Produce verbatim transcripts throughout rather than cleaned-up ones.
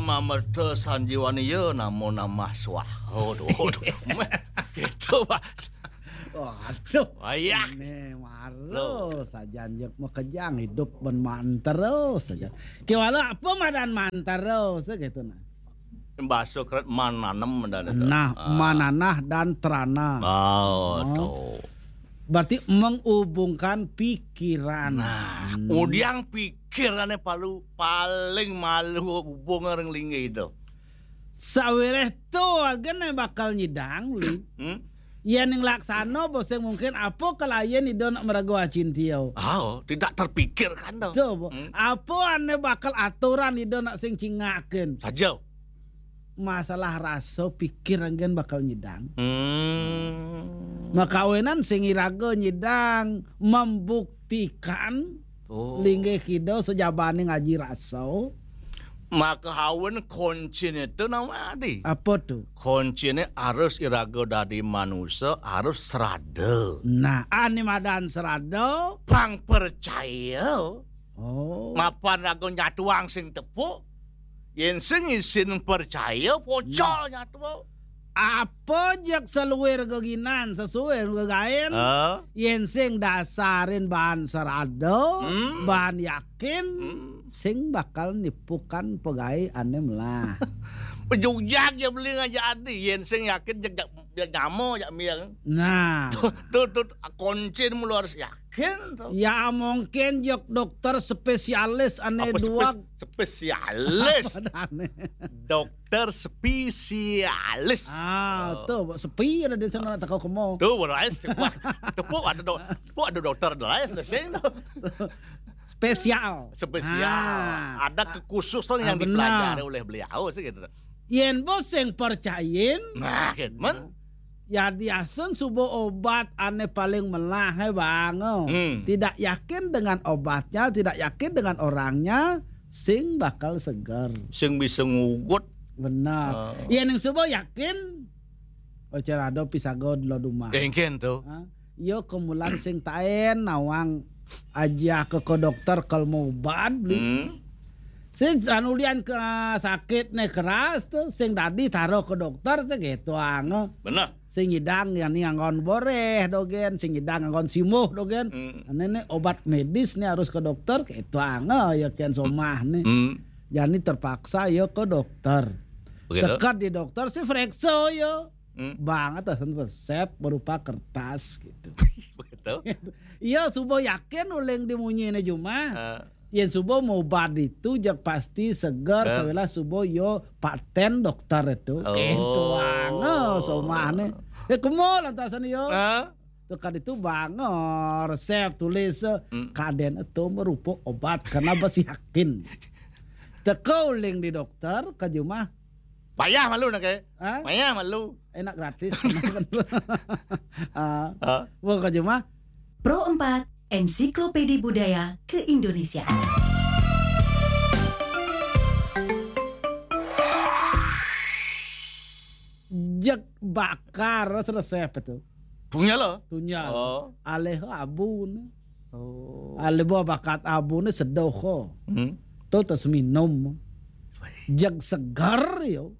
Mamerta sanjiwani ya namo namah swaha. Aduh, aduh. Meh, gitu, Mas. Waduh. Ayah. Ini maro sajan jek makejang hidup ben mantero saja. Kiwala apa madan mantero gitu nah. Bahasa keret mananem dan itu. Nah, Ah. mananah dan terana. Oh, Oh. tuh. Berarti menghubungkan pikiran. Nah, Hmm. udiang pikirane palu paling malu hubung ring linggih itu. Sawireh to agene bakal nyidang li. Hmm? Yen ning laksana boseng mungkin apa kalayan ida nak meraga acintio. Oh, tidak terpikirkan tuh. Tuh, Bo. Hmm. Apa ane bakal aturan ida nak sing cingaken. Saja. Masalah rasa pikir anggen bakal nyidang. Hmm. Makawinan sing iraga nyidang membuktikan Oh. linggih kida sejabane ngaji rasa. Maka hawen kuncine itu nama adi. Apa tuh? Kuncine harus iraga dadi manusa, harus serada. Nah, ane madan serada. Pang percaya. Oh. Mapan raga nyatuang sing tepuk. Yen sing isin percaya, pocol nyatu. Apa jek seluir geginan sesuai gegaen. Eh? Yen sing dasarin bahan serada, Hmm. bahan yakin, Hmm. sing bakal nipukan pegai ane melah. Pejujak ya beli ngajak adi. Yen sing yakin jak jak jak nyamo jak miang. Nah, Tuh tuh kuncin mulu harus yakin tuh. Ya mungkin jok dokter spesialis ane Apa dua. spes- spesialis? Apa ane? Dokter spesialis. Ah, Oh. tuh sepi ada di sana tak kau kemo. Tuh, beres. Wah, tepuk ada dok, tepuk ada dokter lain sing tuh. Spesial. Spesial. Ah. Ada kekhususan Ah, yang benar. Dipelajari oleh beliau sih gitu. Yen bos yang percayin, Nah, gitu, men. ya diastun subo obat ane paling melah he bang. Hmm. Tidak yakin dengan obatnya, tidak yakin dengan orangnya, sing bakal seger. Sing bisa ngugut. Benar. Oh. Yen yang subo yakin, ocer ado pisago dulu dumah. Engken tuh. Ha? Yo kemulan sing taen nawang aja ke, ke dokter kalau mau obat beli. Hmm. Sing anu lian ke sakit ne keras tuh, sing dadi taruh ke dokter segitu ang. Benar. Sing nyidang yang ni anggon boreh dogen, sing nyidang anggon simuh dogen. Hmm. Ane ne obat medis nih harus ke dokter, gitu ang ya kian somah nih. Hmm. Jadi terpaksa yo ke dokter. Begitu. Tekat di dokter si frekso yo. Hmm. Bang atasan resep berupa kertas gitu. Begitu. Iya subo yakin uleng dimunyine jumah. Eh, Yen subo mau obat itu jak pasti segar Eh. sawilah subo yo paten dokter itu. Oh. Gitu ang somahne. Ya kemol lantasan yo. eh, Tuh kan itu bang resep tulis eh, Hmm. Kaden itu merupa obat karena besi yakin. Teko uleng di dokter ke jumah. Payah malu nak eh. Hah? Payah malu. Enak gratis. Ah, Ah. Wah ke jumah. Pro empat, Ensiklopedi Budaya Keindonesiaan. Jek bakar selesai apa tuh? Punya lo. Tunyal. Oh. Aleh abun. Oh. Aleh bawa bakat abun sedoho. Hmm. Tuh terus minum. Jeg segar yo.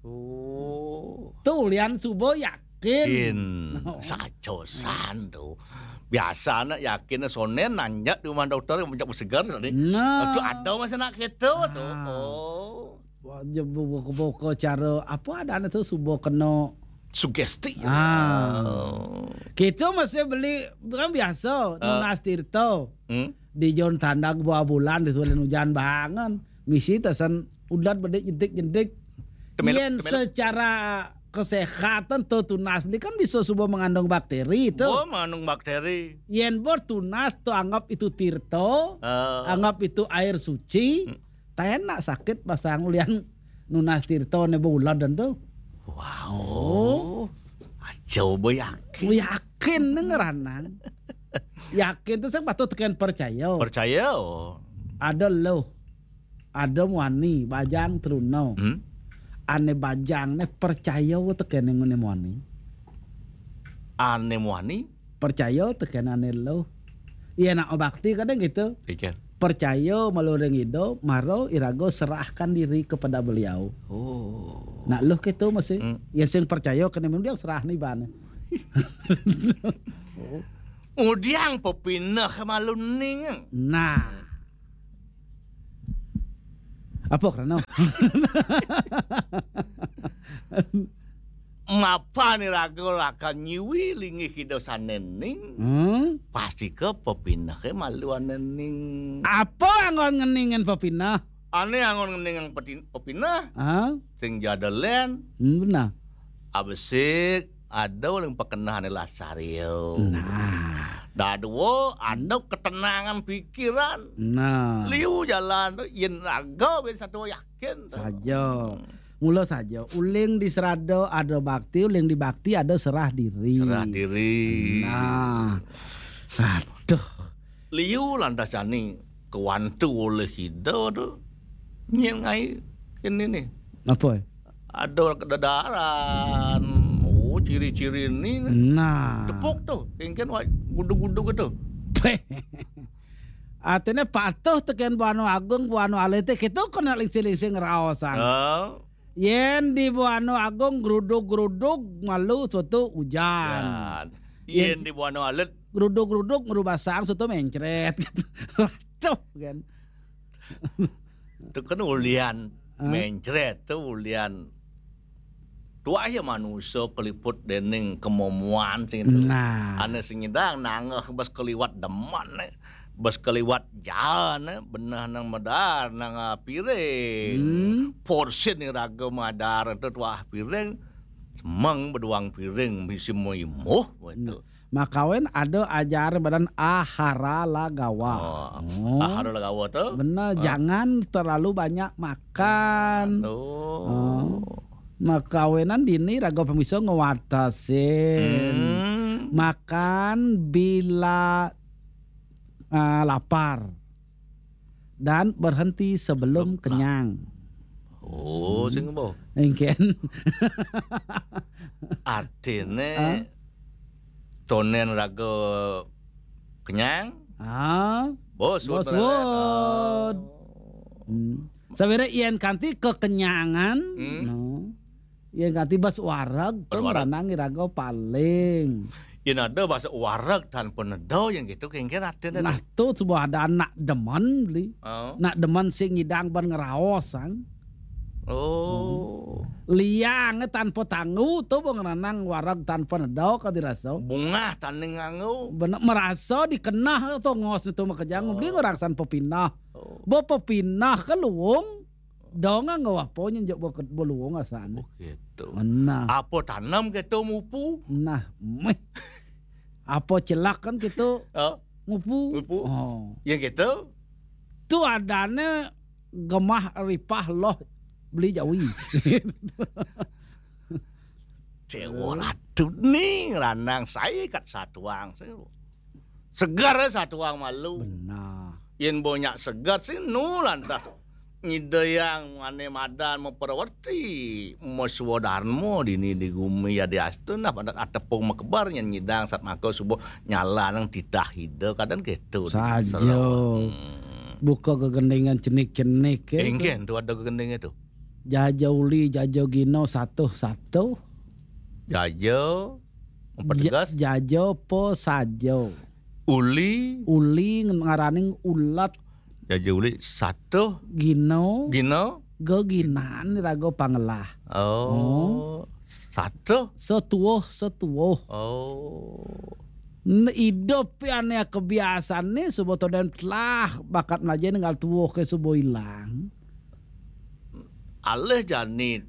Oh. Tuh lian subo yakin. Kin. Oh. Sacosan tuh. Biasa anak yakin sonen nanya di rumah dokter yang punya segar tadi. Nah. Itu ada mas anak kita tuh. Ah. Oh. Wah, je buka-buka cara apa ada anak tuh subo kena Sugesti. Ah. Oh. Kita masih beli kan biasa Ah. nunas tirta. Hmm? Di jon tandak buah bulan di tulen hujan bangan. Misi tasan udat bedik jentik-jentik. Temeluk, Yen temeluk. Secara kesehatan tuh tunas beli kan bisa subo mengandung bakteri tuh. Oh, mengandung bakteri. Yen bor tunas tuh anggap itu tirta, Ah. anggap itu air suci. Hmm. Taenak sakit pasang ulian nunas tirta ne bulan dan tuh. Wow. Aja boy yakin. Yakin nih ngeranang. Yakin tuh saya patut tekan percaya. Percaya. Oh. Ada lo, ada muani bajang teruna. Hmm? Ane bajang ne percaya tekan yang ngene muani. Ane muani. Percaya tekan ane lo. Iya nak bakti kadang gitu. Pikir. Percaya malu ring Ida, mara iraga serahkan diri kepada beliau. Oh. Nah, luh kéto masih. Hmm. Yén sing percaya kena mendiang serah ni ban. Ngudiang pepineh malu ning. Nah. Apa krana? Mapan iraga lakar nyuwi linggih Ida sané ning. Hmm? Pastika pepinehé malu ané ning. Apa anggon ngeningin pepineh? Ané anggon ngeningin peti-, pepineh. Ah? Sing ja ada lén. Hmm, benar. Abesik, ada uling pakeneh ané lasaril. Nah. Dadua, ada ketenangan pikiran. Nah. Liu jalan tu, yén raga ben satu yakin tu. Saja. Hmm. Mula saja, uling di serada ada bakti, uling di bakti ada serah diri. Serah diri. Nah. Aduh. Liu lantas jani kewantu oleh Ida tu. Nyén ngai kini ni. Apa? Ada kededaran. Oh, ciri-ciri ni. Nah. Tepuk tu. Kengken wak gudug-gudug tu. Artinya patuh tekén Buana Agung, Buana Alit té, kita kena lingsing-lingsing raosan. Oh. Yén di Buana Agung grudug-grudug malu soto ujan. Yan. Yén Yén di Buana Alit. Grudug-grudug merubah sang soto mencret. Waduh, kan. Tu kan ulian. Hah? Mencret tu ulian. Tuah ya manusia keliput dening kemomoan sing tu. Nah. Ané sing nyidang nangeh bes keliwat demen, eh. Bes keliwat jalan, eh. Beneh nang medar, nang, ah, piring. Hmm. Porsin iraga madar tu tuah piring. Semeng beduang piring, misi muimuh, betul. Nah. Makawin ada ajar badan ahara lagawa. Oh, oh. Ahara lagawa tu? Benar, oh. Jangan terlalu banyak makan. Oh. Oh. Makawinan dini raga pamisa ngwatasin. Hmm. Makan bila, ah, lapar. Dan berhenti sebelum Lep-, kenyang. Oh, hmm. Sing apa? Engken. Artine, hah? Tonen raga kenyang. Ah. Bos, bos, bos. Oh. Hmm. Sawiréh yén kanti kekenyangan, hmm. No. Yén kanti bas wareg, bas wareg. Ngranang iraga paling. Yén ada bas wareg tanpa neda, yén gitu, kéngkén artiné. Nah, tuh sebuah ada anak demen, beli. Oh. Anak demen sing ngidang ban ngraos, sang. Oh. Hmm. Liang tanpa tanggu, tuh bang ngranang wareg tanpa neda ka dirasa. Bungah tanding nganggo. Bener, merasa dikenah tongos itu makejang, oh. Beli ngorang san pepinah. Oh. Bo pepinah ka luung, dong nganggo apa nyen jok bo ke-, bo luung asan. Oh, gitu. Nah. Apa tanam gitu mupu? Nah, meh. Apa celak kan gitu? Oh. Mupu. Mupu. Oh. Ya gitu. Tu adane gemah ripah loh beli jawi. Dewa Ratu ning ranang saya kat satuang. Segar satuang malu. Benar. Yén banyak segar sih nu lantas ngidayang ane madan maperwerti maswa dharma dini di gumi ya di astun nah pada atepung makebar nyén nyidang sat maka subuh nyala nang titah ida kadang gitu. Saja. Hmm. Buka gegendingan cenik-cenik, ya. Engken tu ada gegending itu. Jaja uli, jaja gino, satuh, satuh. Jaja, apa ja-, tegas? Jaja apa saja. Uli. Uli ngaraning ulat. Jaja uli, satuh. Gino. Gino. Geginan raga pangelah. Oh. Oh. Satuh. Setuwuh, setuwuh. Oh. N-, idup ane kebiasaan ni suba to den telah bakat melajah ninggal tuwuh ke suba ilang. Alih jani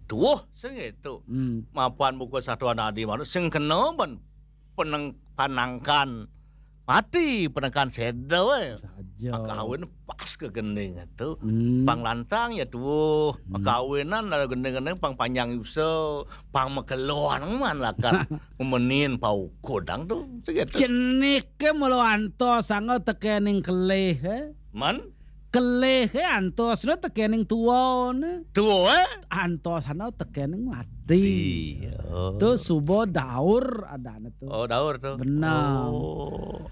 tuwuh sing itu. Hmm. Mapan buku satuan adi manut sing kena ban peneng-, panangkan mati, penengkan seda wae. Saja. Makawin pas ke gending itu. Hmm. Pang lantang ya tuwuh. Hmm. Makawinan ada gending-gending pang panjang yusa, pang makeloan man lakat memenin pau kodang tu. Segitu. Cenik ke mula antos sanga tekening kelih, eh? Man? Kelih, eh, antosna tekening tuwane. Tuwa, eh? Antosna tekening mati. Iya. Tu suba daur adane tu. Oh, daur tu. Benar. Oh.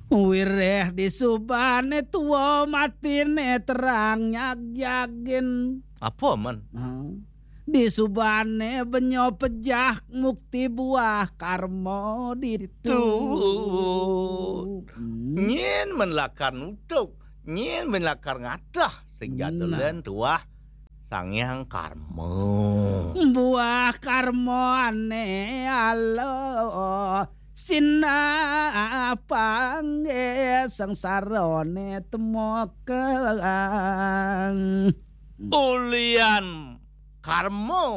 Wiréh disubane tua matine terang nyagyagin. Apa, Man? Ha. Disubane benyo pejah mukti buah karma ditu. Ditu. Hmm. Nyén men lakar nutuk, nyén men lakar ngatah sing Nah. Jadelen tuah Sang Hyang Karma. Buah karma ane ala sinah panggih sangsarane temokang. Ulian karma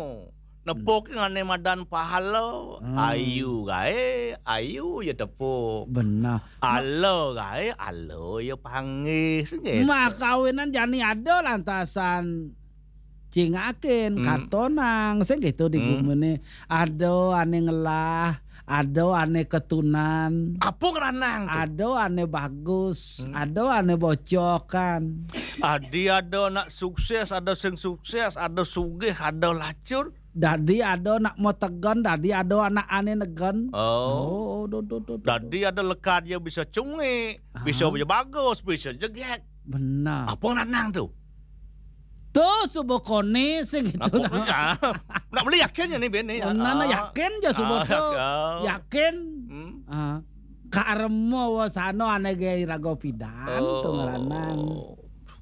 nepuk ane madan pahala. Hmm. Ayu gae, ayu ya tepuk. Benar. Ala gae, ala ya panggih. Sing gitu. Mah kawinan jani ada lantasan cingakin, hmm, katonang, sing gitu di, hmm, gumine. Ada ane ngelah, ada ane ketunan. Apa ngranang tu? Ada ane bagus, hmm, ada ane bocokan. Adi ada nak sukses, ada sing sukses, ada sugih, ada lacur. Dadi ada nak metegon, dadi ada anak ane negon. Oh. Oh, do, do, do, do, do. Dadi ada lekad ya bisa cungi, bisa, ah, bisa bagus, bisa jegek. Benar. Apa ngranang tu? Tu suba kone sing gitu. Nak kok ya? Nak beli yakin ya ni bini ya? Benar, nak, ah, yakin je suba, ah, tu. Yakin. Yakin. Hmm. Ah. Karma wasana ane gae raga pidan tu ngranang. Oh.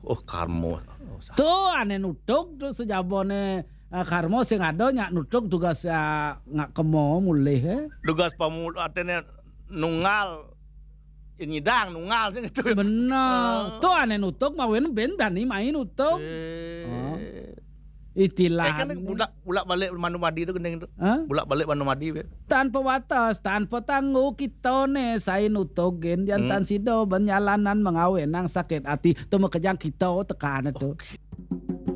Oh, karma. Oh, sa- Tu ane nutuk tu sejabone, ah, karma sing ada nyak nutuk tugas, ah, ngak kemo mulih, eh. Tugas pamul-, atene nunggal nyidang nunggal sing itu. Benar. Ah. Tu ane nutuk mawen ben bani main nutuk. Eh. Ah. Istilah. Eh, kan bulak, bulak balik Manumadi tu gending tu. Hah? Bulak balik Manumadi be. Tanpa batas, tanpa tangguh kita ne sai nutuk gen jantan, hmm, sida berjalanan mengawe nang sakit hati tu makejang kita tekan tu. Okey.